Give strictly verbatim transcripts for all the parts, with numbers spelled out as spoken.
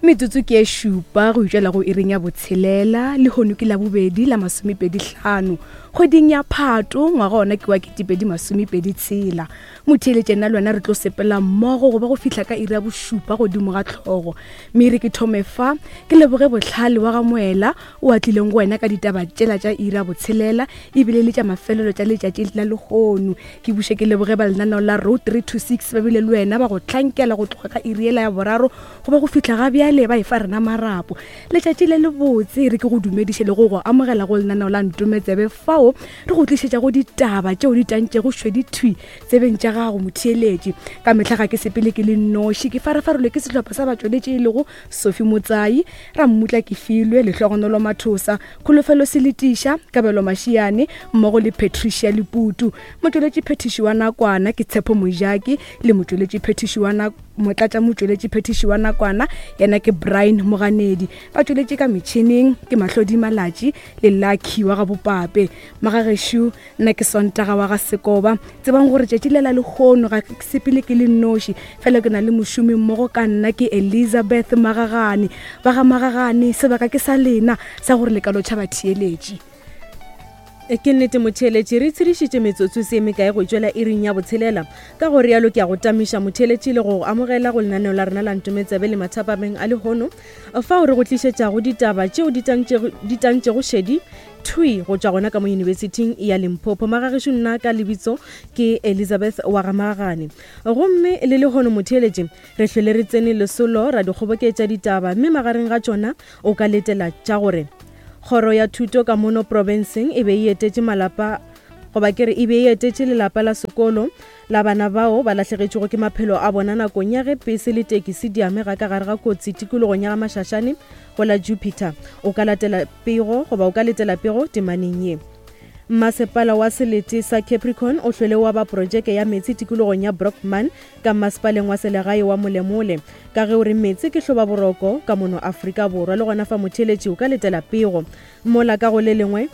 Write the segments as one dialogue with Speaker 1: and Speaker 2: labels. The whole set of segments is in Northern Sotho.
Speaker 1: Metsotso ke e šupa go itšwela go iring ya botshelela lehono ke la bobedi la masomepedi hlano kgweding ya Phato ngwaga ona ke wa ketepedi masomepedi tshela. Motheeletše nna le wena re tlo sepela mmogo go ba go fihla ka iri ya bošupa godimo ga tlhogo. Mme re ke thome fa ke leboge bohlale wa ga Moela o a tlileng go wena ka ditaba tšela tša iri ya botshelela ebile le tša mafelelo tša letšatši la lehono. Ke buše ke leboge ba lenaneo la Road three two six ba bile le wena ba go hlankela go tloga ka iri yela ya boraro go ba go fihla ga bjale ba e fa rena marapo. Letšatši le lebotse re ke go dumediše le go go amogela go lenaneo la Ntometsebe fao re go tlišetša go ditaba tšeo di tantšego šwedi thwi tsebeng tša gago motheeletši. Ka mehla ga ke sepele ke le nnoši, ke farafarolwe ke sehlopha sa batšweletši e lego Sophie Motsai, Rammutla Kefilwe, Lehlogonolo Mathosa, Kholofelo Seletiša, Kabelo Mashiane mmogo le Patricia Leputu. Motšweletši phethiši wa nakwana ke Tshepo Mojaki le motšweletši phethiši wa nako motlatša motšweletši phethiši wa nakwana yena ke Brian Moganedi. Ba tšweletše ka metšhineng ke Mahlodi Malatši le Lucky wa ga Bopape. Magagešo nna ke Sontaga wa ga Sekoba. Tsebang gore tšatši le la lehono ga ke sepele ke le nnoši, fela ke na le mošomi mmogo ka nna ke Elizabeth Magagane. Ba ga Magagane, sebaka ke sa lena sa gore le ka lotšha batheeletši.
Speaker 2: E ke nnete motheeletši, re tshedišitše metsotso se mekae go tšwela iring ya botshelela. Ka go rialo ke a go tamiša motheeletši le go amogela go lenaneo la rena la Ntometsebe le mathapameng a lehono fao re go tlišetšago ditaba tšeo di tantšego šedi thwi go tšwa gona ka mo yunibesithing ya Limpopo. Magagešo nna ka lebitso ke Elizabeth wa ga Magagane. Gomme le lehono motheeletši re hlwele re tsene lesolo ra dikgoboketša ditaba, mme magareng ga tšona o ka letela tša gore kgoro ya thuto ka mono profenseng e be e etetše malapa goba ke re e be e etetše lelapa la sekolo la bana bao ba lahlegetšwego ke maphelo a bona nakong ya ge pese le tekisi di amega ka gare ga kotsi tikologong ya ga Mashashane go la Jupiter. O ka latela pego goba o ka letela pego temaneng ye. Masepala wa selete sa Capricorn o hlwele wa ba projeke ya metsi tikologong ya Brockman ka masepaleng wa selegae wa Molemole ka ge o re metsi ke hloba boroko ka mono Afrika Borwa. Le gona fa motheeletši o ka letela pego. Mola ka go le lengwe,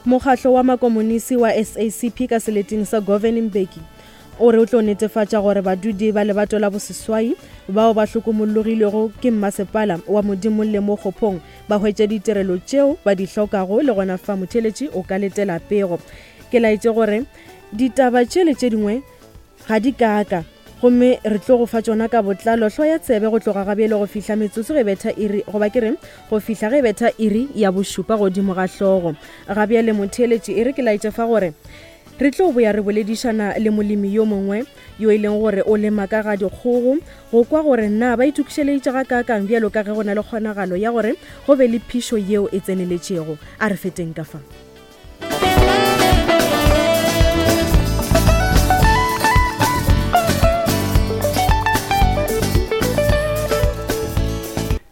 Speaker 2: mokgahlo wa makomonisi wa S A C P ka seleteng sa Govan Mbeki o re o tlo netefatša gore badudi ba lebato la boseswai bao ba hlokomologilwego ke mmasepala wa Modimolle mo Kgophong ba hwetše ditirelo tšeo ba di hlokago. Le gona fa motheeletši o ka letela pego. Ke laetše gore ditaba tše le tše dingwe ga di kaka, gomme re tlo go fa tšona ka botlalo hlo ya tsebe go tloga gabjele go fihla metsotso ge betha iri goba ke re go fihla ge betha iri ya bošupa godimo ga hlogo. Gabjele motheeletši e re ke laetše fa gore re tlo boya re boledišana le molemi yo mongwe yo e leng gore o lema ka ga dikgogo go kwa gore na ba itokišeleditše ga kaakang bjalo ka ge go na le kgonagalo ya gore go be le phišo yeo e tseneletšego. A re feteng ka fa.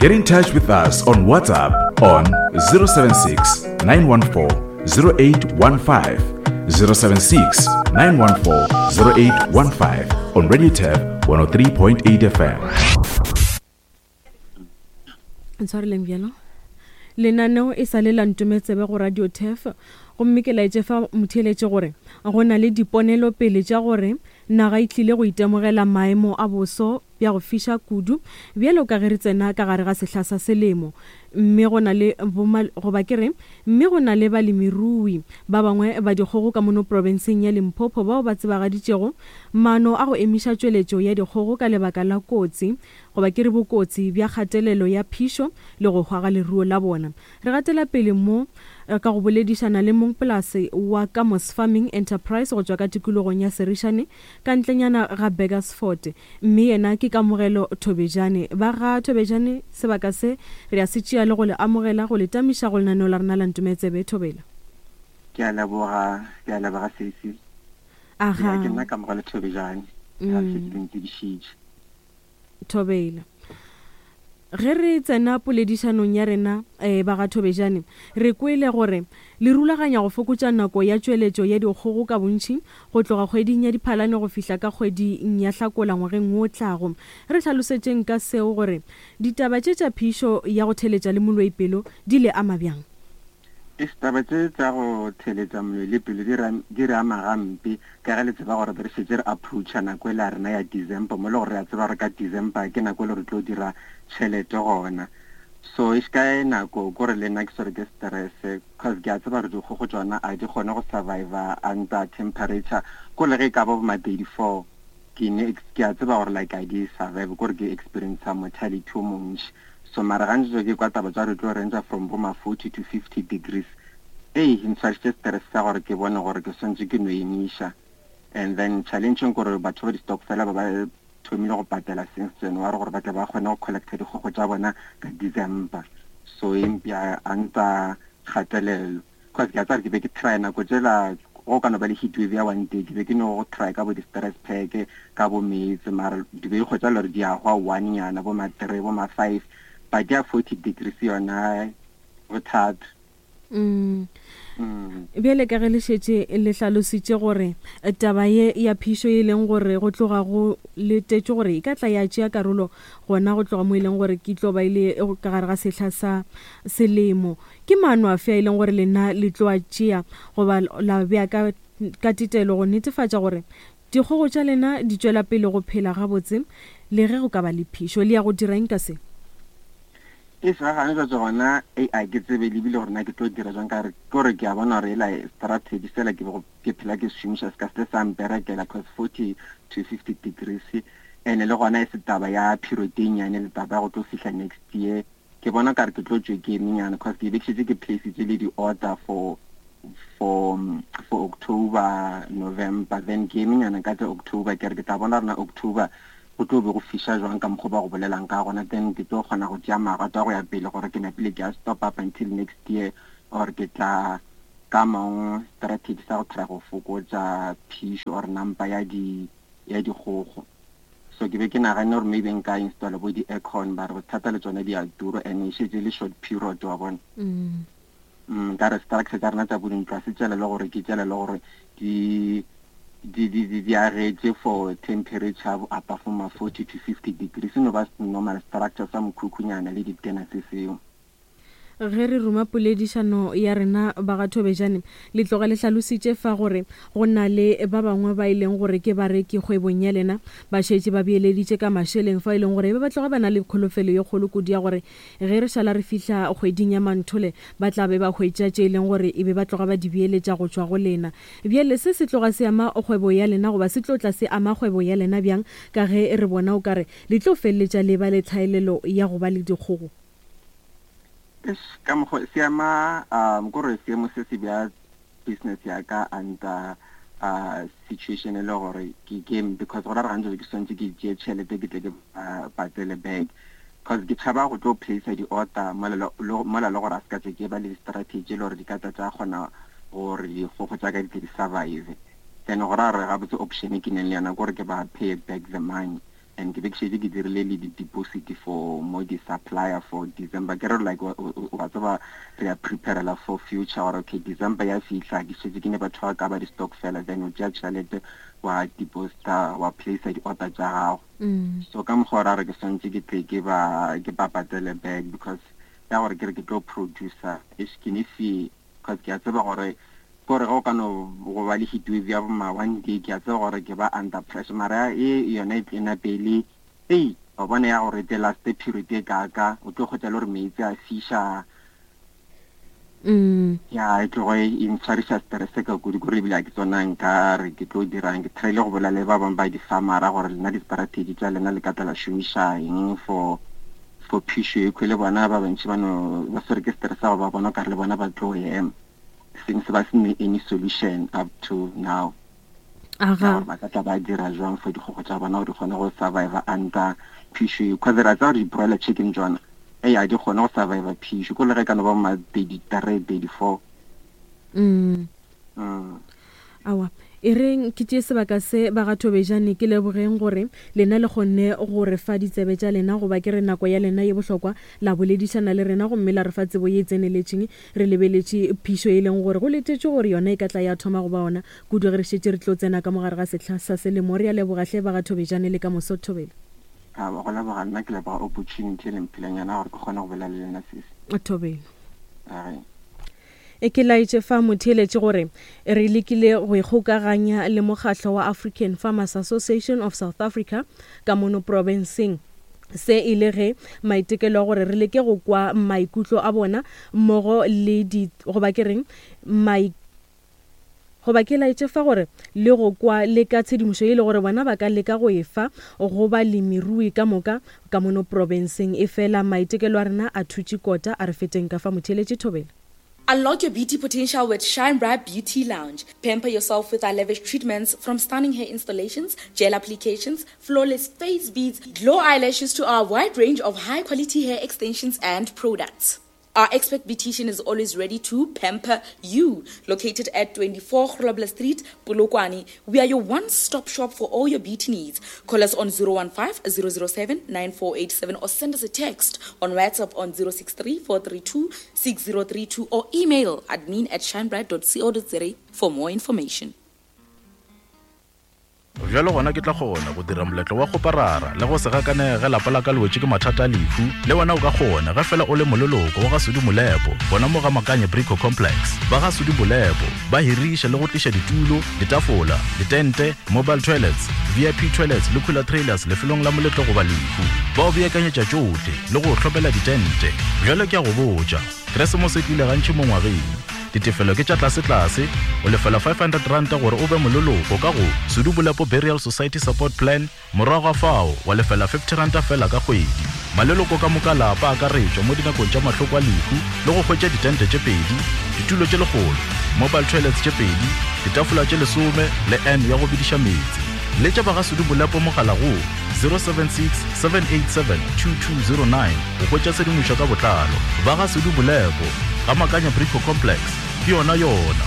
Speaker 3: Get in touch with us on WhatsApp on zero seven six, nine one four, zero eight one five, zero seven six, nine one four, zero eight one five on Radio Turf one oh three point eight F M.
Speaker 2: Ntshwareleng bjalo. Lenaneo e sa le la Ntometsebe go Radio Turf, gomme ke laetše fa motheeletše gore go na le diponelo pele tša gore naga e tlile go itemogela maemo a boso bja go fiša kudu bjalo ka ge re tsena ka gare ga sehla sa selemo. Mme go na le goba ke re mme go na le balemirui ba bangwe ba dikgogo ka mono profenseng ya Limpopo bao ba tsebagaditšego maano a go emiša tšweletšo ya dikgogo ka lebaka la kotsi goba ke re bokotsi bja kgatelelo ya phišo le go hwa ga leruo la bona. Re gatela pele mo ka go boledišana le mongpolase wa Kamos Farming Enterprise go tšwa ka tikologong ya Serišane ka ntlenyana ga Burgersfort, mme yena ke Kamogelo Thobejane. Ba ga Thobejane sebaka se re a se tšea le go le amogela go le tamiša go lenaneo la rena la Ntometsebe. Thobela.
Speaker 4: Ke a leboga, ke a leboga sesi.
Speaker 2: Aha.
Speaker 4: Ke nna Kamogelo Thobejane. Ka se ke ntsibišitše.
Speaker 2: Thobela. Ge re tsena poledišanong ya rena eh, ba ga Thobejane, re kwele gore le rulaganya go fokotša nako ya tšweletšo ya dikgogo ka bontši go tloga kgweding ya Diphalane go fihla ka kgweding ya Hlakola ngwageng wo tlago. Re hlalosetšeng ka seo gore ditaba tše tša phišo ya go theletša le moloipelo di le ama bjang?
Speaker 4: Taba tše tša go theletša moloi le pelo di re ama gampe ka ge le tseba gore re šetše re approacha nako e la rena ya December, mo le gore re a tseba gore ka December ke nako e le re tlo dira tšhelete gona. So e ka nako kore le nna ke swere ke stress cause ke a tseba gore dikgogo tšona a di kgone go survive under temperature ko le ge e ka ba bo ma thirty-four ke ne ke a tseba gore like a di survive kore ke experience mortality o montši. So mara gantši ke kwa taba tša re tlo range from bo ma forty to fifty degrees. Ei, ntshwarisitše stress sa gore ke bone gore ke swantše ke no emiša. And then challenge gore batho ba di-stokfela ba ba thomile go patela since January gore ba tle ba kgone go collecta dikgogo tša bona ka December. So e mpea under kgatelelo cause ke a tseba gore ke be ke try nako tšela go ka no ba le heat wave ya one day ke be ke no go try ka bo di-stress pack ka bo meetse mara di be kgotsa le gore di a hwa one nyana bo ma three bo ma five but ya forty degrees yona bothata.
Speaker 2: Mm.
Speaker 4: Mm.
Speaker 2: Bjale ka ge le šetše le hlalositše gore taba ye ya phišo e leng gore go tloga go letetše gore e ka tla ya tšea karolo gona go tloga mo e leng gore ke tlo ba ile ka gare ga sehla sa selemo, ke maano afe a e leng gore lena le tlo a tšea goba la bea ka ka tetelo go netefatša gore dikgogo tša lena di tšwela pele go phela gabotse le ge go ka ba le phišo? Le ya go dira eng ka se?
Speaker 4: E sa gane jwa gona e a ke tsebe le bile gore na ke tlo dira jwang ka re kore ke a bona gore ela strategy sela ke go ke phela ke šomiša se ka se sa mperekela cause forty to fifty degrees and le gona e se taba ya period e nnyane le taba ya go tlo fihla next year. Ke bona ka re ke tlo tšwe ke emenyana cause ke be ke šetše ke placitše le di-order for for for October, November, then ke emenyana ka tša October ke re ke tla bona rena October go tlo be go fiša jwang ka mokgwa ba go bolelang ka gona, then ke tlo kgona go tšea magato a go ya pele gore ke napile ke a stop up until next year or ke tla ka mangwe strategy sa go try go fokotša phišo or number ya di ya dikgogo. So ke be ke naganne gore maybe nka installa bo di-aircon ba re bothata le tsone di a tura and e šetše le short period wa bona.
Speaker 2: Mm.
Speaker 4: Mm, ka re structure tša rena tša bo dintlo a se tšela le gore ke tšela le gore di di di di di agetše for temperature above ma forty to fifty degrees, no ba normal structure sa mokhukhunyana le ditena se seo.
Speaker 2: Ge re ruma poledišano ya rena ba ga Thobejane, le tloga le hlalositše fa gore go na le ba bangwe ba e leng gore ke bareki kgwebong ya lena ba šetše ba beeleditše ka mašeleng fa e leng gore ba tloga ba na le kholofelo ye kgolo kudu ya gore ge re šala re fihla kgweding ya Manthole ba tla be ba hwetša tše e leng gore e be ba tloga ba di beeletša go tšwa go lena. Bjale se se tloga se ama kgwebo ya lena goba se tlo tla se ama kgwebo ya lena bjang ka ge re bona o kare le tlo feleletša le ba le tlhaelelo ya go ba le dikgogo?
Speaker 4: Ka mokgwa se ama um kore seemo se se bja business ya ka under uh situation e le gore ke ke because gore re gantsi ke swantse ke tšee tšhelete ke tle ke patele back cause ke tšhaba go tlo place di-order mola le gore a se ka tse ke ba le strategy le gore di ka tla tša kgona gore dikgogo tša ka di tle di survive. Then gore a re gabotse option ke neng le yona kore ke ba pay back the money and ke be ke šetše ke dirile le di-deposit for mo di-supplier for December. Ke re like wa tseba re a preparela for future gore okay December ya fihla ke šetše ke ne batho ba ka ba di-stock fela, then o tšea tšhelete wa deposita wa place di-order tša gago. So ka mokgwa ra re ke swantše ke tle ke ba ke ba patele back because ya gore ke re ke tlo producer eish ke ne fee cause ke a tseba gore kore ge o ka no go ba le heat wave ya bo ma one day ke a tseba gore ke ba under pressure mara e yona e tlena pele ei wa bona ya gore the last period e kaka o tlo kgotsa le gore meetse a fiša.
Speaker 2: Mm.
Speaker 4: Ya e tlogo e ntshwariša stress ka kudu kore ebile a ke tsona nka re ke tlo dirang ke try-ile go bolela le ba bangwe ba di-farmera gore lena di-strategy tša lena le ka tla la šomiša eng for for phišo e khwe le bona ba bantši ba no ba swere ke stress sa go ba bona kare le bona ba tlo ema since ba se ne any solution up to now.
Speaker 2: Aga.
Speaker 4: Ba ka tla ba dira jwang for dikgogo tša bona gore di kgone go survive under phišo e cause re a tseba gore di-broiler chicken tsona ei a di kgone go survive phišo ko le ge ka no ba ma thirty-three, thirty-four.
Speaker 2: Mm.
Speaker 4: Mm.
Speaker 2: Awa, e reng ke tšee sebaka se ba ga Thobejane ke lebogeng gore lena le kgonne go re fa ditsebe tša lena goba ke re nako ya lena ye bohlokwa la boledišana le rena gomme la re fa tsebo ye e tseneletšeng re lebeletše phišo e leng gore go letetše gore yona e ka tla ya thoma go ba ona kudu ge re šetše re tlo tsena ka mogare ga sehla sa selemo. Re a leboga hle ba ga Thobejane le ka moso Thobela.
Speaker 4: A go leboga nna ke leboga opportunity le mphileng yona gore ke kgone go bolela le lena sesi.
Speaker 2: Thobela.
Speaker 4: Ae.
Speaker 2: E ke laetše fa motheeletše gore re lekile go ikgokaganya le mokgahlo wa African Farmers Association of South Africa ka mono profenseng. Se e le ge maitekelo a gore re leke go kwa maikutlo a bona mmogo le di goba ke reng mai goba ke laetše fa gore le go kwa le ka tshedimošo e le gore bona ba ka leka go e fa go balemirui ka moka ka mono profenseng. E fela maitekelo a rena a thutše kota, a re feteng ka fa motheeletše thobela.
Speaker 5: Unlock your beauty potential with Shine Bright Beauty Lounge. Pamper yourself with our lavish treatments, from stunning hair installations, gel applications, flawless face beads, glow eyelashes to our wide range of high-quality hair extensions and products. Our expert beautician is always ready to pamper you. Located at twenty-four Grobler Street, Polokwane, we are your one-stop shop for all your beauty needs. Call us on zero one five, zero zero seven, nine four eight seven or send us a text on WhatsApp on zero six three, four three two, six zero three two or email admin at shinebright dot co dot za for more information.
Speaker 3: Bjalo gona ke tla kgona go dira moletlo wa go parara le go se gakanege ge lapa la ka le wetše ke mathata a lehu. Le wena o ka kgona ge fela o le moleloko wa ga Sudi Molepo gona mo ga Makanye Brico Complex. Ba ga Sudi Molepo ba hiriša le go tliša ditulo, ditafola, ditente, mobile toilets, V I P toilets le cooler trailers lefelong la moletlo goba lehu. Ba o beakanyetša tšohle le go hlopela ditente. Bjalo ke a go botša, Keresemose e tlile gantši mo ngwageng. Ditefelo ke tša tlase-tlase, o lefela five hundred rand gore o be moleloko ka go Sudi Molepo Burial Society Support Plan, morago ga fao wa lefela fifty rand fela ka kgwedi. Maleloko ka moka lapa a akaretšwa mo dinakong tša mahloko a lehu le go hwetša ditente tše pedi, ditulo tše lekgolo, mobile toilets tše pedi, ditafola tše lesome le N ya go bediša meetse. Letša ba ga Sudi Molepo mogala go zero seven six, seven eight seven, two two zero nine go hwetša tshedimošo ka botlalo. Ba ga Sudi Molepo ga Makanya Brico Complex, ke yona yona.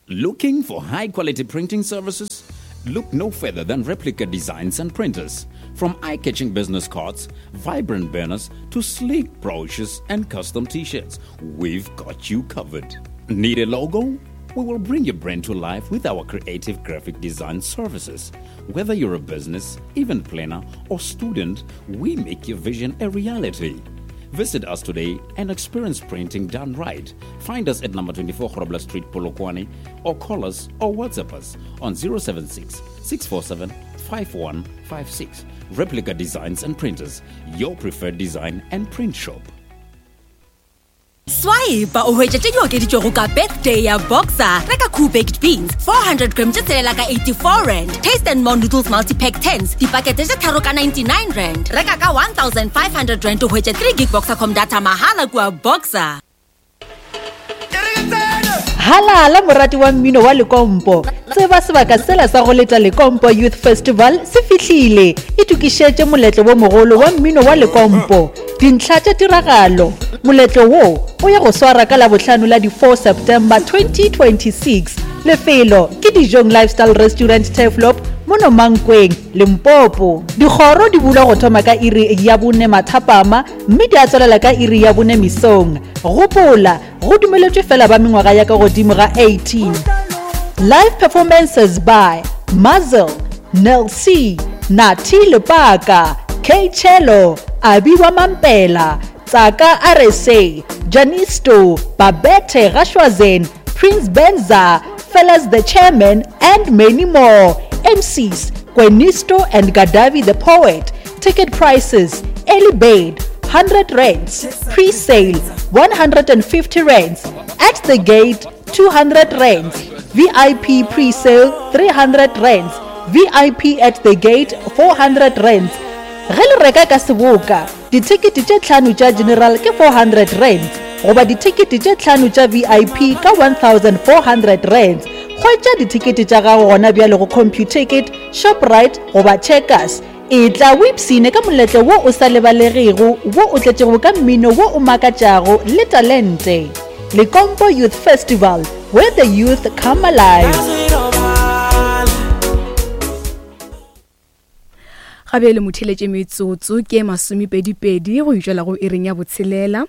Speaker 6: Looking for high quality printing services? Look no further than Replica Designs and Printers. From eye-catching business cards, vibrant banners, to sleek brochures and custom t-shirts, we've got you covered. Need a logo? We will bring your brand to life with our creative graphic design services. Whether you're a business, event planner, or student, we make your vision a reality. Visit us today and experience printing done right. Find us at number twenty-four Grobler Street, Polokwane, or call us or WhatsApp us on zero seven six, six four seven, five one five six. Replica Designs and Printers, your preferred design and print shop.
Speaker 7: Swipe o hwetše tše di okeditšwego ka birthday ya Boxer. Reka Cool Baked Beans four hundred grams tše tshelela ka eighty-four rand. Taste and More Noodles Multi-Pack tens dipakete tše tharo ka ninety-nine rand. Reka ka one thousand five hundred rand o hwetše three gig Boxercom data mahala kua Boxer.
Speaker 8: Halala morati wa mmino wa Lekompo. Tseba sebaka sela sa go leta Lekompo Youth Festival se fihlile. Itokišetše moletlo wo mogolo wa mmino wa Lekompo. Dintlha tša tiragalo. Moletlo wo o ya go swara ka Labohlano la di-four September twenty twenty-six. Lefelo ke Dijong Lifestyle Restaurant Turfloop mono Mankweng, Limpopo. Dikgoro di bulwa go thoma ka iri ya bone mathapama mme di a tswelela ka iri ya bone mesong. Gopola, go dumeletšwe fela ba mengwaga ya ka godimo ga eighteen. Live performances by Muzzle, Nel C, Nati Lepaka, K Cello, Abiwa Mampela, Tsaka R S A, Janisto, Babette Rashwazen, Prince Benza, Fellas the Chairman, and many more. M Cs, Gwenisto and Gadavi the Poet. Ticket prices, early bird, one hundred rands, pre-sale, one hundred and fifty rands, at the gate, two hundred rands, V I P pre-sale, three hundred rands, V I P at the gate, four hundred rands. Ge le reka ka seboka, dithekete tše tlhano tša general ke four hundred rands, goba dithekete tše tlhano tša V I P ka one thousand four hundred rands. Hwetša dithekete tša gago gona bjale go Computicket, Shoprite goba Checkers. E tla o ipshine ka moletlo wo o sa lebalegego, wo o tletšego ka mmino wo o makatšago le talente. Lekompo Youth Festival, where the youth come alive.
Speaker 1: Gabe le motheletše metsotso ke masomepedi-pedi go itšwela go iring ya botshelela,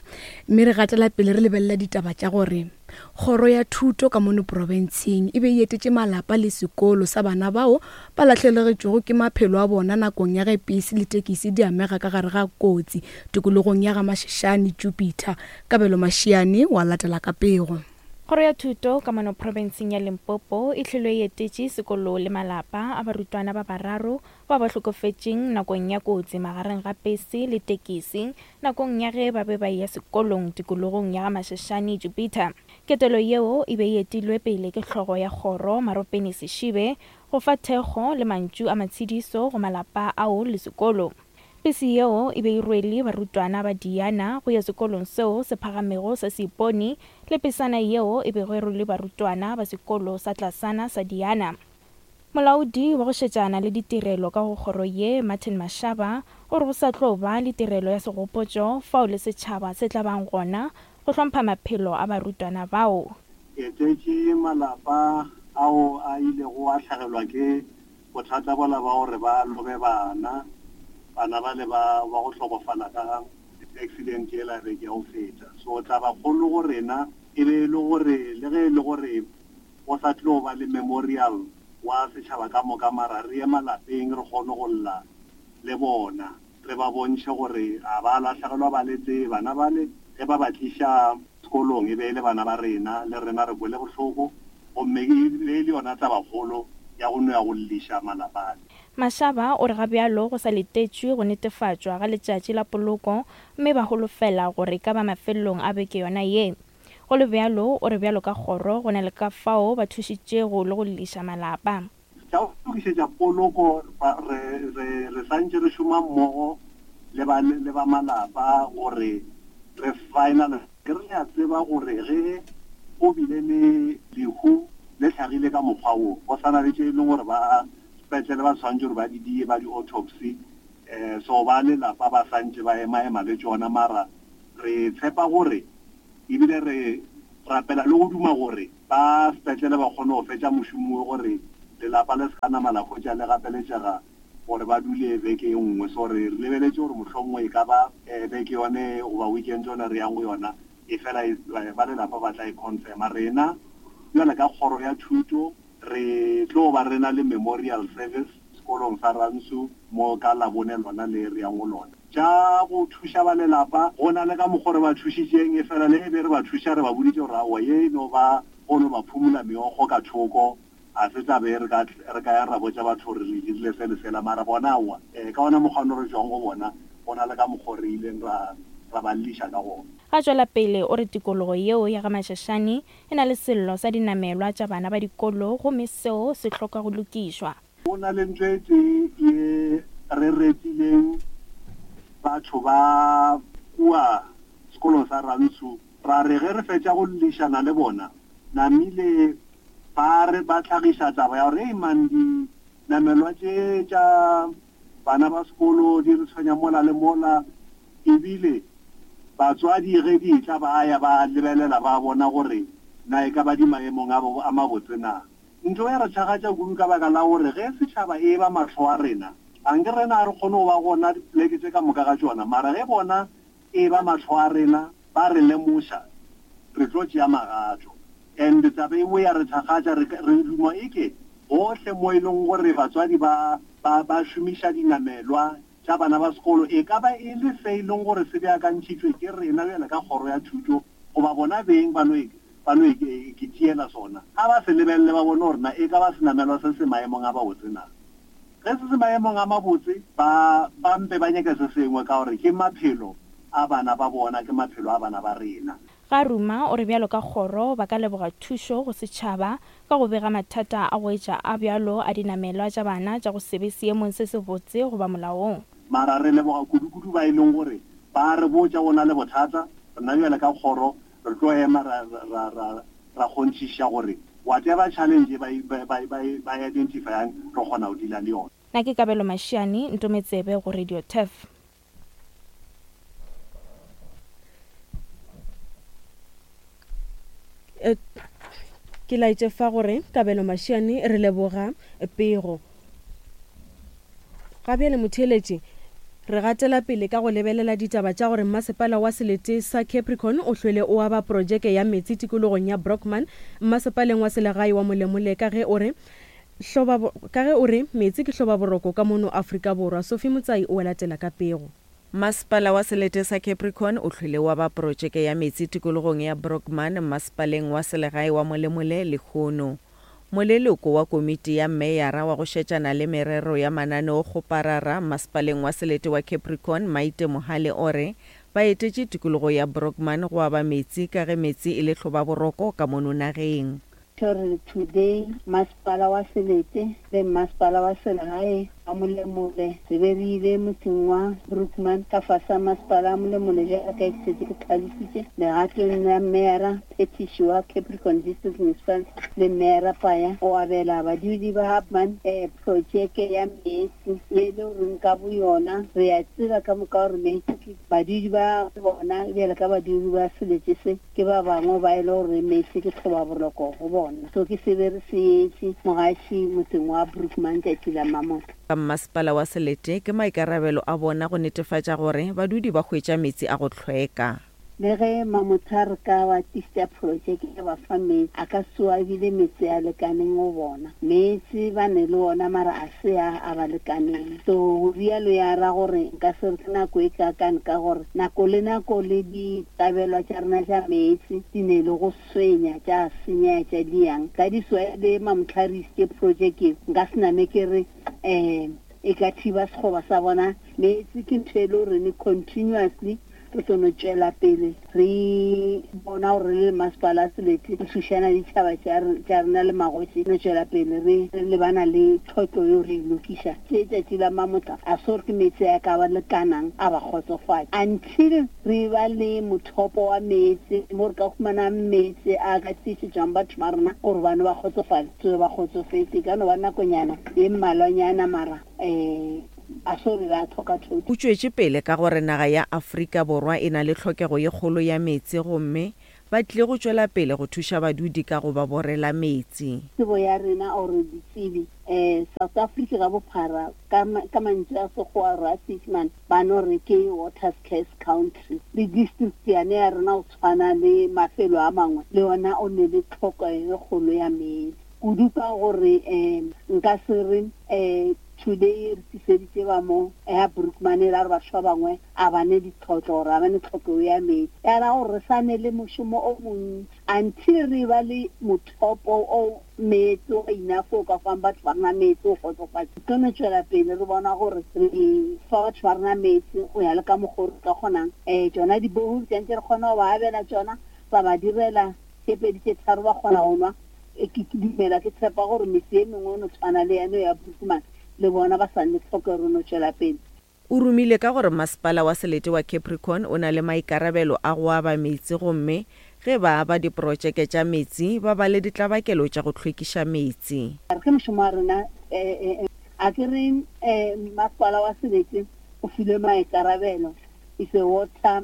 Speaker 1: mme re gatela pele re lebelela ditaba tša gore kgoro ya thuto ka mono profenseng e be e etetše malapa le sekolo sa bana bao ba lahlegetšwego ke maphelo a bona nakong ya ge pese le tekisi di amega ka gare ga kotsi tikologong ya ga Mashishane Jupiter. Kabelo Mashiane wa latela ka pego.
Speaker 9: Kgoro ya thuto ka mono profenseng ya Limpopo e hlilwe e etetše sekolo le malapa a barutwana ba bararo ba ba hlokofetšeng nakong ya kotsi magareng ga pese le tekisi nakong ya ge ba be ba eya sekolong tikologong ya ga Mashashane Jupiter. Ketelo yeo e be e etilwe pele ke hlogo ya kgoro Maropene Seshibe go fa thekgo le mantšu a matshediso go malapa ao le sekolo. Pese yeo e be e rwele barutwana ba Diana go ya sekolong seo se phagamego sa Seipone le pesana yeo e bego e rwele barutwana ba sekolo sa tlasana sa Diana. Molaodi wa go šetšana le ditirelo ka go kgoro ye Martin Mashaba o re go sa tlo ba le tirelo ya segopotšo fao le setšhaba se tla bang gona go hlompha maphelo a barutwana bao.
Speaker 10: Etetše malapa ao a ilego a hlagelwa ke bothata bola ba gore ba lobe bana bana ba le ba ba go hlokofala ka accident yela beke ya go feta. So taba kgolo go rena e be e le gore le ge e le gore go sa tlo ba le memorial wa setšhaba ka moka, mara re ye malapeng re kgone go lla le bona, re ba bontšhe gore a ba lahlegelwa ba le tee bana bale ge ba ba tliša sekolong e be e le bana ba rena, le rena re kwele bohloko, gomme e be e le yona tabakgolo ya go no ya go lliša malapa ale.
Speaker 9: Mashaba o re ga bjalo go sa letetšwe go netefatšwa ga letšatši la poloko mme ba holofela gore ka ba mafelelong a beke yona ye. Go le bjalo o re bjalo ka kgoro go na le ka fao ba thušitšego le go lliša malapa.
Speaker 10: Tša go lokišetša poloko re re re santše re šoma mmogo le ba le ba malapa gore re final. Ke re a tseba gore ge go bile le lehu le hlagile ka mokgwa wo, go sana le tše e leng gore ba sepetlele ba tshwanetse gore ba di die ba di-autopsy, um so ba lelapa ba santše ba ema-ema le tšona, mara re tshepa gore ebile re rapela le go duma gore ba sepetlele ba kgone go fetša mošomo gore lelapa le se ka nama la hwetša le gapeletšega gore ba dule beke e nngwe. So re lebeletše gore mohlomongwe e ka ba beke yone goba weekend yone re yang go yona, e fela ba lelapa ba tla e confirma. Rena bjale ka kgoro ya thuto re tlo ba rena le memorial service sekolong sa Rantsho mo ka Labone lona le re yang go lona. Tša go thuša ba lelapa go na le ka mokgwa re ba thušitšeng, e fela le be re ba thuša re ba boditše gore aowa ye e no ba go no ba phumula meokgo ka thoko, a se tla be re ka re ka ya ra botša batho gore re dirile se le sela, mara bona aowa um ka ona mokgwa ono re tšwang go bona go na le ka mokgwa re ileng ra ra ba lliša ka gona.
Speaker 9: Ga tšwela pele o re tikologo yeo ya ga Mashashane e na le sello sa dinamelwa tša bana ba dikolo gomme seo se hloka go lokišwa.
Speaker 10: Go na le ntho e tee ye re retileng batho ba kua sekolong sa Rantsho, ra re ge re fetša go llišana le bona namile ba re ba tlhagiša taba ya gore ei man dinamelwa tše tša bana ba sekolo di re tshwenya mola le mola, ebile batswadi ge di tla ba ya ba lebelela ba bona gore na e ka ba di maemong a mabotse na. Ntho ya re tšhagatša kudu ka baka la gore ge setšhaba e ba mahlo a rena, anke rena a re kgone go ba gona dipoleke tše ka moka ga tšona, mara ge bona e ba mahlo a rena ba re lemoša re tlo tšea magato. And taba e nngwe ya re thakgatša re re duma eke gohle mo e leng gore batswadi ba ba ba šomiša dinamelwa tša bana ba sekolo, e ka ba e le se e leng gore se beakantšhitšwe ke rena bjale ka kgoro ya thuto goba bona beng ba no ba no ke tšeela sona, ga ba se lebelele ba bone gore na e ka ba senamelwa se se maemong a mabotse na. Ge se se maemong a mabotse ba ba mpe ba nyake se sengwe ka gore ke maphelo a bana ba bona, ke maphelo a bana ba rena.
Speaker 9: Ga ruma o re bjalo ka kgoro ba ka leboga thušo go setšhaba ka go bega mathata a go etša a bjalo a dinamelwa tša bana tša go se be seemong se sebotse goba molaong.
Speaker 10: Mara re leboga kudu-kudu ba e leng gore ba re botša go na le bothata, rena bjale ka kgoro re tlo ema ra ra ra ra kgonthiša gore whatever challenge ba ba ba ba identifyang re kgona go deala le yona.
Speaker 9: Nna ke Kabelo Mashiane, Ntometsebe go Radio Turf.
Speaker 2: Ke laetše fa gore Kabelo Mashiane re leboga pego. Ga bjale motheeletši re gatela pele ka go lebelela ditaba tša gore mmasepala wa selete sa Capricorn o hlwele o aba projeke ya metsi tikologong ya Brockman mmasepaleng wa selegae wa Molemole ka ge o re hloba ka ge o re metsi ke hloba boroko ka mono Afrika Borwa. Sophie Motsai o latela ka pego.
Speaker 11: Masepala wa selete sa Capricorn o hlwele wa ba protšeke ya meetse tikologong ya Brockman masepaleng wa selegae wa Molemole lehono. Moleloko wa komiti ya meyara wa go šetšana le merero ya mananeokgoparara masepaleng wa selete wa Capricorn Maite Mohale o re ba etetše tikologo ya Brockman go aba meetse ka ge meetse e le hlobaboroko ka mono nageng.
Speaker 12: Gore today masepala wa selete le masepala wa selegae wa Molemole re be re ile motseng wa Brookman ka fase ga masepala wa Molemole jaaka ke setse ke tlhalositše legatong la meyara phetiši wa Capricorn District Municipality le meyara Paya go abela badudi ba Hubman um projeke ya meetse ye e le goreng ka bo yona re a tseba ka moka gore meetse ke badudi ba bona bjale ka badudi ba selete se ke ba bangwe ba e le gore meetse ke tlhobaboroko go bona. So ke se be re se etše mogaši motseng wa Brookman tšatši la mamotla.
Speaker 11: Ka masepala wa selete ke maikarabelo a bona go netefatša gore badudi ba hwetša meetse a go hlweka.
Speaker 12: Le ge mamotha re ka ba tlišitša projeke ya ba fa meetse a ka soa ebile meetse a lekaneng go bona. Meetse ba ne le ona mara a se a a ba lekaneng. So go rialo ya ra gore nka se re ke nako e kakane ka gore nako le nako le ditabelwa tša rena tša meetse di ne le go swenya tša senya tša diang. Ka di soa le mamotha re isitše projeke nka se name ke re um e ka thiba sekgoba sa bona. Meetse ke ntho e le gore ne continuously re tlo no tšwela pele re bona gore le masepala a selete re thušana ditšhaba tša rena le magoši no tšwela pele re lebana le tlhotlo yo re e lokiša. Tše tšatši la mamotla a se gore ke meetse a ka ba lekanang a ba kgotsofatše until re ba le mothopo wa meetse mo re ka humanang meetse a ka tlišetšwang batho ba rena gore bane ba kgotsofale tsoe ba kgotsofetse ka no ba nakonyana ye mmalwanyana mara um a so re ba tlhoka thuto.
Speaker 11: O tšwetše pele ka gore naga ya Afrika Borwa e na le tlhokego ye kgolo ya meetse gomme ba tlile go tšwela pele go thuša badudi ka go ba borela meetse.
Speaker 12: Tsebo ya rena or ditsebi um South Africa ka bophara ka mantšu a Sekgowa or a Seesemane ba no re ke water scarce country. Le district yane ya rena go tshwana le mafelo a mangwe le yona o ne le tlhoko e kgolo ya meetse kudu ka gore um nka se re um today re tliseditše ba mo ya Brookman e ra gore batho ba bangwe a ba ne ditlhotlo gore a ba ne tlhokego ya meetse ya ra gore re sa ne le mošomo o montši until re ba le mothopo o meetse o enough o ka fang batho ba rena meetse o kgotsofatše. Tlo no tšwela pele re bona gore re fa batho ba rena meetse go ya le ka mokgwa o re ka kgonang. Um tšona dibohole tšantše re kgona go ba abela tšona ra ba direla tše pedi tše tharo ba kgona go nwa. Ke dumela ke tshepa gore metse e mengwe o no tshwana le yane ya Brookman le bona ba sa nne tlhokego no tšwela pele.
Speaker 11: O romile ka gore masepala wa selete wa Capricorn o na le maikarabelo a go aba meetse gomme ge ba aba diprotšeke tša meetse ba ba le ditlabakelo tša go hlwekiša meetse.
Speaker 12: Ke mošomo wa rena a ke re masepala wa selete o filwe maikarabelo is a water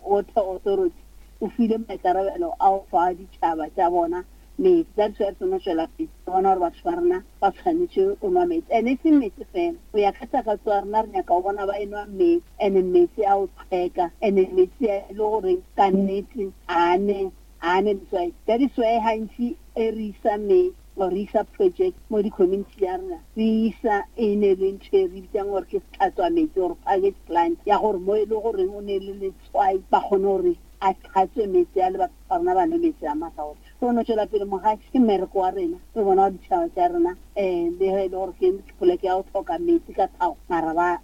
Speaker 12: water authority o filwe maikarabelo a go fa ditšhaba tša bona meetse. That is why re tlo tšwela pele re bona gore batho ba rena ba tshwanetše go nwa meetse and e seng meetse fela go ya ka takatso ya rena re nyaka go bona ba enwa meetse and meetse a go tlhweka and meetse a e le gore ka nnete a ne a ne letswai. That is why gantši e re isa meetse or re isa project mo di-community ya rena re isa e ne le ntho e re bitsang gore ke setlhatswa metsi or package plant ya gore mo e le goreng o ne le letswai ba kgone gore a tlhatswe metsi a le batho ba rena ba nwe metsi a masaore. Re no tšwela pele mogaši ke mmereko wa rena re bona gore ditšhaba tša rena um le ge e le gore ke poleke ya go tlhoka metsi ka tlhago mara ba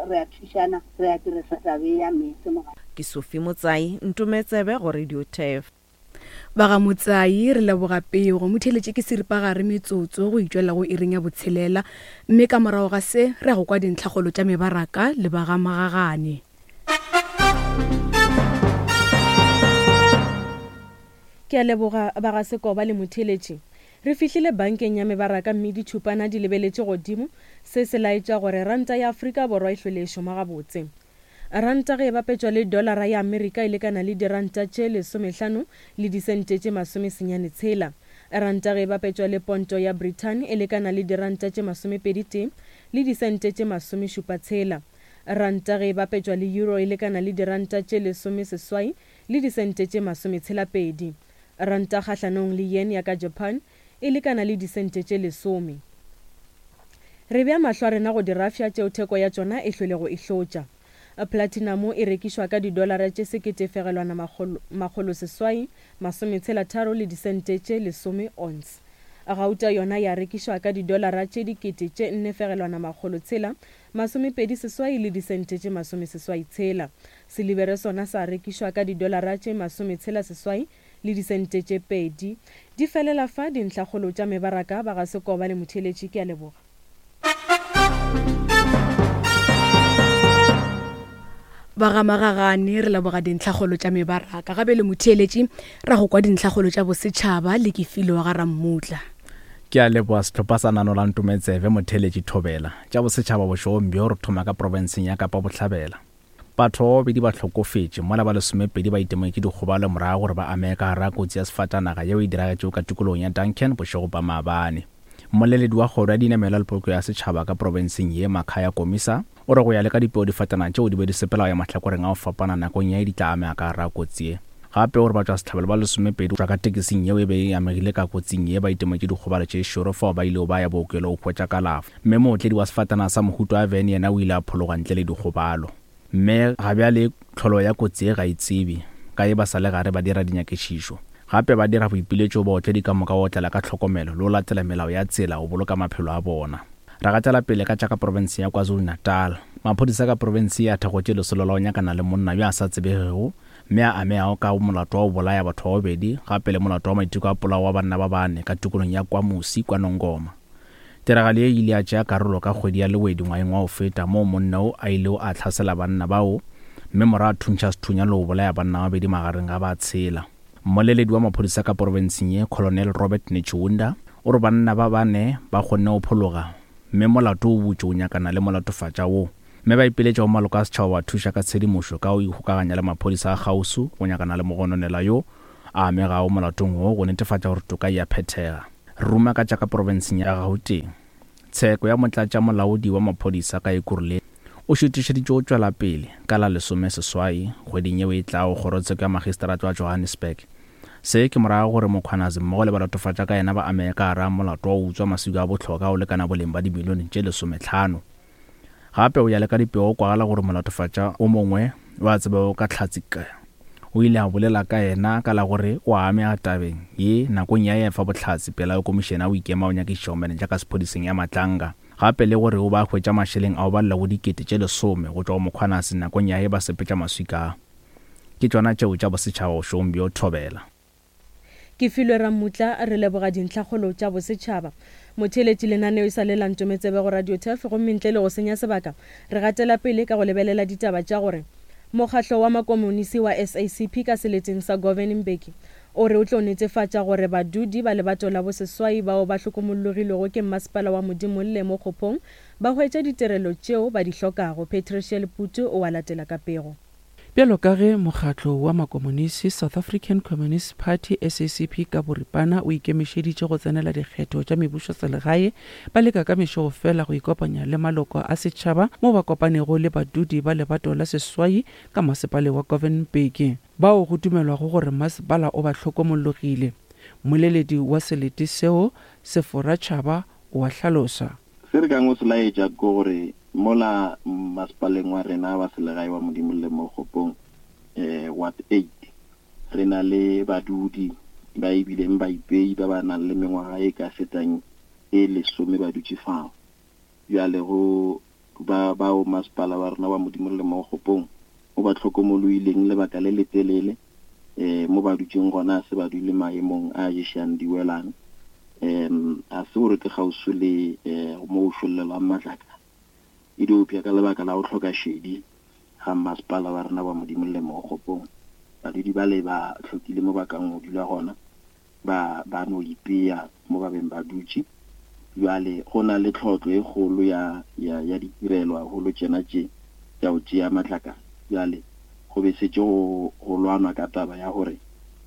Speaker 12: re a thušana re a dirisa tabe ya metsi mogaši.
Speaker 11: Ke Sophie Motsai, Ntometsebe go Radio Turf.
Speaker 1: Ba ga Motsai re leboga pego motheletše ke seripagare metsotso go itšwela go iring ya botshelela mme ka morago ga se re ya go kwa dintlhakgolo tša mebaraka le ba ga Magagane.
Speaker 2: Ke a leboga ba ga Sekoba le motheletši. Re fihlile bankeng ya mebaraka mme ditšhupana di lebeletše godimo. Se se laetša gore ranta ya Afrika Borwa e hlwele e šoma gabotse. Ranta ge e bapetšwa le dollara ya Amerika e lekana le diranta tše lesomehlano le disente tše masomesenyane tshela. Ranta ge e bapetšwa le ponto ya Britain e lekana le diranta tše masomepedi tee le disente tše masomešupa tshela. Ranta ge e bapetšwa le euro e lekana le diranta tše lesomeseswai le disente tše masometshela pedi. Ranta kgahlanong le yen ya ka Japan e lekana le disente tše lesome. Re bea mahlo a rena go dirafša tšeo theko ya tšona e hlwelego e hlotša. Platinum e rekišwa ka didolara tše sekete fegelwana makgolo, makgolo seswai, masometshela tharo le disente tše lesome ounce. Gauta yona ya rekišwa ka didolara tše dikete tše nne fegelwana makgolo tshela, masomepedi seswai le disente tše masomeseswai tshela. Silibere sona sa rekišwa ka didolara tše masometshela seswai le disente tše pedi. Di felela fa dintlhakgolo tša mebaraka ba ga Sekoba le Motheeletši. Ke a leboga.
Speaker 1: Ba ga Magagane re leboga dintlhakgolo tša mebaraka. Gape le motheeletši ra go kwa dintlhakgolo tša bosetšhaba le Kefilo wa ga Rammutla.
Speaker 13: Ke a leboga sehlopha sa Nano la Ntometsebe motheeletši Thobela. Tša bosetšhaba bošegong bjo re thoma ka profenseng ya Kapa Bohlabela. Batho ba babedi ba hlokofetše mola ba lesomepedi ba itemogetše dikgobalo morago gore ba amege ka gare ga kotsi ya sefatanaga yeo e diragetšego ka tikologong ya Duncan bošego ba maabane. Mmoleledi wa kgoro ya dinamelwa le poloko ya setšhaba ka profenseng ye Makhaya Komisa o re go ya le ka dipeo difatanaga tšeo di be di sepela go ya mahlakoreng a go fapana nakong ya di tla amega ka gare ga kotsi ye. Gape o re batšwasehlabelo ba lesomepedi go tšwa ka tekesing yeo e be e amegile ka kotsing ye ba itemogetše dikgobalo tše šoro fao ba ilego ba ya bookelo go hwetša kalafo. Mme mootledi wa sefatanaga sa mohuta wa van yena o ile a phologa ntle le dikgobalo. Mme ga bjale tlholo ya kotsi ye ga e tsebe ka ye ba sa le gare ba dira dinyakišišo. Gape ba dira boipiletšo baotledi ka moka go otlela ka tlhokomelo le go latela melao ya tsela go boloka maphelo a bona. Ra gatela pele ka tša ka profenseng ya KwaZulu-Natal. Maphodisa ka profense ya thakgotše lesolo la go nyakana le monna yo a sa tsebegego mme a amegago ka molato wa go bolaya batho ba babedi gape le molato wa maiteko a polao wa banna ba bane ka tikologong ya KwaMusi kwa Nongoma. Tiragalo ye e ile ya tšea karolo ka kgwedi ya Lewedi ngwageng wa go feta moo monna o a ilego a hlasela banna bao mme morago a thuntšha sethunya le go bolaya banna ba babedi magareng ga ba tshela. Mmoleledi wa maphodisa ka profenseng ye Colonel Robert Netshiunda o re banna ba bane ba kgonne go phologa mme molato o butše o nyakana le molatofatša wo. Mme ba ipiletša go maloko a setšhaba ba thuša ka tshedimošo ka go ikgokaganya le maphodisa a kgauswi go nyakana le mogononela yo a amegago molatong wo go netefatša gore toka e a phethega. Ruma ka tša ka profenseng ya Gauteng. Tsheko ya motlatšamolaodi wa maphodisa ka Ekurhuleni o šutišeditše go tšwela pele ka la lesome seswai kgweding yeo e tlago kgorotsheko ya magistrata wa Johannesburg. Se ke morago gore Mkhwanazi mmogo le balatofatša ka yena ba amege ka gare ga molato wa go utswa maswika a bohlokwa go lekana boleng ba dimilione tše lesometlhano. Gape o ya le ka dipego kwagala gore molatofatša o mongwe wa tsebago ka Hlatsi K o ile a bolela ka yena ka la gore o amega tabeng ye nakong ya efa bohlatse pela ya komišene ya go ikema go nyakišiša bomenetša ka sephodiseng ya Matlanga. Gape le gore o ba hwetša mašeleng ao ba llego dikete tše lesome go tšwa go Mkhwanazi nakong ya ge ba sepetša maswika a. Ke tšona tšeo tša bosetšhaba bošegong bjo Thobela.
Speaker 2: Ke filwe Rammutla re leboga dintlhakgolo tša bosetšhaba. Motheeletši lenaneo e sa le la Ntometsebe go Radio Turf gomme ntle le go senya sebaka re gatela pele ka go lebelela ditaba tša gore mokgatlo wa makomonisi wa S A C P ka seleteng sa Govan Mbeki o re o tlo netefatša gore badudi ba lebato la boseswai bao ba hlokomologilwego ke mmasepala wa Modimolle mo Kgopong ba hwetša ditirelo tšeo ba di hlokago. Patricia Leputu o a latela ka pego.
Speaker 14: Bjalo ka ge mokgatlo wa makomonisi South African Communist Party S A C P ka boripana o ikemišeditše go tsenela dikgetho tša mebušo selegae, ba leka ka mešego fela go ikopanya le maloko a setšhaba mo ba kopanego le badudi ba lebato la seswai ka masepale wa Govan Mbeki, bao go dumelwago gore masepala o ba hlokomologile. Mmoleledi wa selete seo Sefora Tšhaba o a hlalosa.
Speaker 15: Se re kang o se laetša ke gore mola masepaleng wa rena wa selegae wa Modimolle mo Kgopong eh ward eight re na le badudi ba ebileng ba ipei ba ba nang le mengwaga e ka fetang e lesome ba dutše fao. Bjale go ba bao masepala wa rena wa Modimolle mo Kgopong o ba hlokomoloileng lebaka le letelele eh mo ba dutšeng gona se ba dule maemong a ješang diwelang em a se gore ke kgauswi le eh mo o šollelwang matlakala e diopša ka lebaka la go hloka šedi ga masepala wa rena wa Modimolle mo Kgopong. Badudi ba le ba hlokile mo ba kang go dula gona ba ba no ipea mo ba beng ba dutše. Bjale go na le tlhotlo e kgolo ya ya ya ditirelo haholo tšena tše tša go tšea matlakala. Bjale go be setse go go lwanwa ka taba ya gore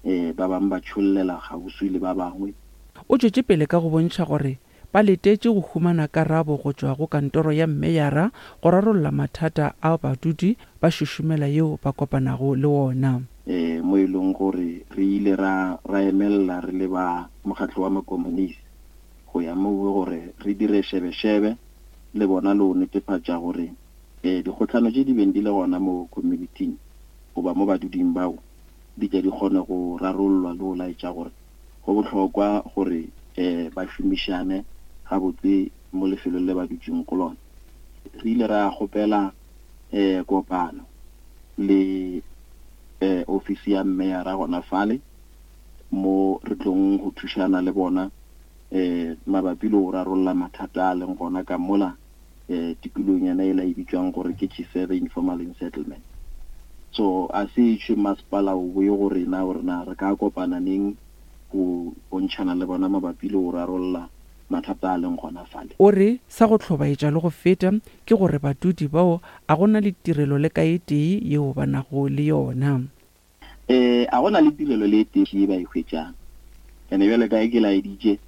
Speaker 15: eh ba bangwe ba tšhollela kgauswi le ba bangwe.
Speaker 14: O tšwetše pele ka go bontšha gore ba letetše go humana karabo go tšwa go kantoro ya mmeyara go rarolla mathata a badudi ba šušumela yeo ba kopanago le wona.
Speaker 15: Eh mo e leng gore re ile ra ra emella re le ba mokgatlo wa makomonisi go ya moo gore re dire shebeshebe le bona le go netefatša gore um dikgohlano tše di beng di le gona mo community-ing goba mo baduding bao di tle di kgone go rarollwa le go laetša gore go bohlokwa gore um ba šomišane gabotse mo lefelong le ba dutšeng go lona. Re ile ra kgopela um kopano le um ofisi ya meyara gona fale mo re tlong go thušana le bona um mabapi le go rarolla mathata a leng gona ka mola um tikolong yena e la e bitswang gore ke Chisebe informal settlement. So a se tšwe masepala o boye go rena gore na re ka kopana neng go bontšhana le bona mabapi le go rarolla mathata a leng gona fale.
Speaker 14: O re sa go hlobaetša le go feta ke gore badudi bao a gona le tirelo le ka e tee yeo ba nago le yona.
Speaker 15: Eh a gona le tirelo le e tee ye ba e hwetšang. Ene bjale ka e ke laeditše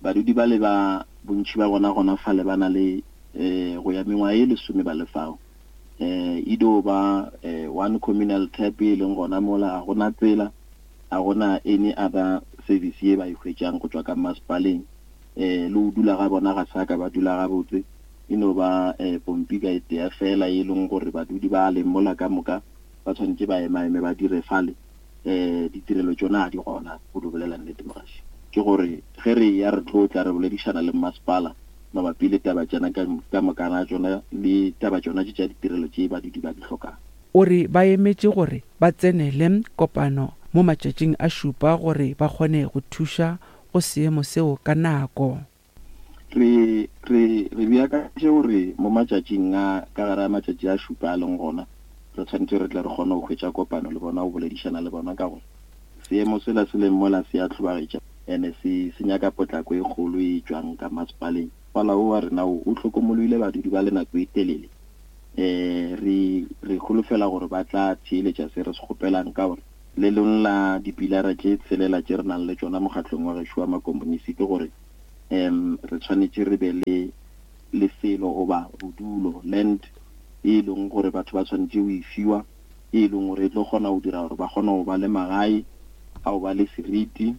Speaker 15: badudi ba le ba bontši ba bona gona fale ba na le eh go ya mengwaga e lesome ba le fao. Eh e do ba eh, one communal tap e leng gona mola, a gona tsela, a gona any other service ye ba e hwetšang go tšwa ka masepaleng. Eh le go dula ga bona ga sa ka ba dula gabotse, e no ba eh pompi ka e tee fela e leng gore badudi ba leng mola ka moka ba tshwanetse ba emaeme ba dire fale. Eh ditirelo tšona ga di gona go di bolela nnete mogaši. Ke gore ge re ya re tlo tla re boledišana le masepala mabapi le taba tšena ka, ka mokana tšona le taba tšona tše tša ditirelo tše badudi ba di hlokang.
Speaker 14: O re ba emetše gore ba tsenele kopano mo matšatšing a šupa gore ba kgone go thuša go seemo seo ka nako.
Speaker 15: Re re re beakantše gore mo matšatšing a ka gare a matšatši a šupa a leng gona re tshwanetse re tle re kgone go hwetša kopano le bona, go boledišana le bona ka gore seemo sela se leng mola se a hlobaetša ene se se nyaka potlako e kgolo e tšwang ka masepaleng. Masepala o wa rena o o hlokomologile badudi ba le nako e telele. Eh re re holofela gore ba tla theeletša se re se kgopelang ka gore le leng la dipilara tše tshelela tše re nang le tšona mokgatlong wa gešo wa makomonisi ke gore um re tshwanetse re be le lefelo goba bodulo land e leng gore batho ba tshwanetse go e fiwa, e leng gore e tlo kgona go dira gore ba kgone go ba le magae a go ba le seriti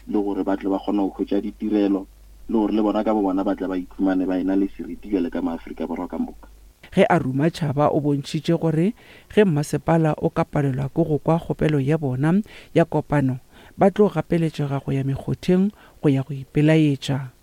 Speaker 15: le gore ba tle ba kgone go hwetša ditirelo le gore le bona ka bo bona ba tle ba ikhumane ba ena le seriti bjale ka maAfrika Borwa ka moka.
Speaker 14: Ge a ruma tšhaba o bontšhitše gore ge mmasepala o ka palelwa ke go kwa kgopelo ya bona ya kopano ba tlo gapeletšega go ya mekgotheng go ya go ipelaetša.